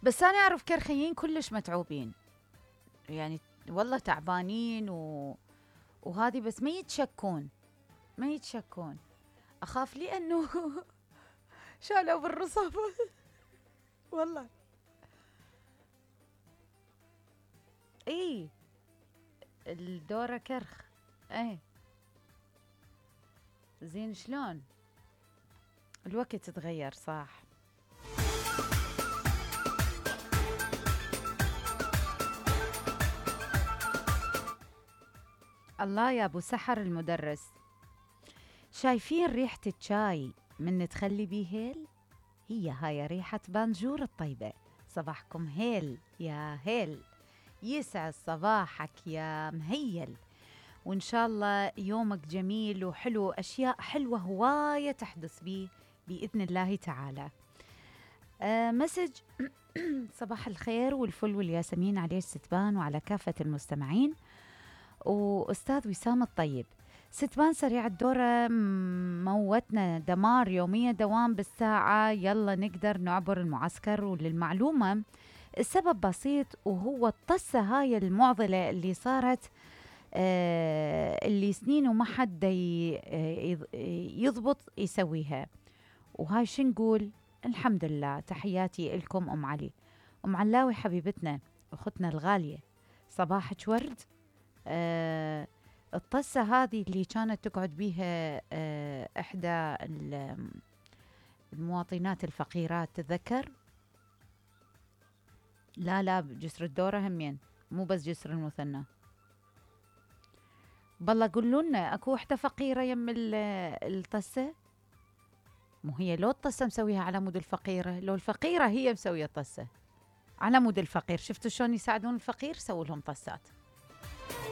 بس أنا أعرف كرخيين كلش متعوبين، يعني والله تعبانين وهذه بس ما يتشكون. أخاف لأنه شالوا بالرصاف والله. إي الدورة كرخ. إيه زين شلون الوقت تغير صح. الله يا أبو سحر المدرس، شايفين ريحة الشاي من تخلي بيه هيل؟ هي هاي ريحة بانجور الطيبة. صباحكم هيل يا هيل، يسعد صباحك يا مهيل، وإن شاء الله يومك جميل وحلو، أشياء حلوة هواية تحدث بيه بإذن الله تعالى. مسج صباح الخير والفل والياسمين عليه الستبان وعلى كافة المستمعين. وأستاذ وسام الطيب، ستبان سريع الدورة موتنا دمار يومية، دوام بالساعة، يلا نقدر نعبر المعسكر. وللمعلومة السبب بسيط، وهو الطسة هاي المعضلة اللي صارت اللي سنين وما حد يضبط يسويها. وهاي شو نقول؟ الحمد لله. تحياتي لكم أم علي. أم علاوي حبيبتنا أختنا الغالية، صباحك ورد. الطسة هذه اللي كانت تقعد بيها إحدى المواطنات الفقيرات، تذكر؟ لا بجسر الدورة همين، مو بس جسر المثنى. بالله قولوا لنا اكو وحده فقيره يم الطسه؟ مو هي لو الطسه مسويها على مود الفقيره، لو الفقيره هي مسويه الطسه على مود الفقير. شفتوا شلون يساعدون الفقير؟ سووا لهم طسات.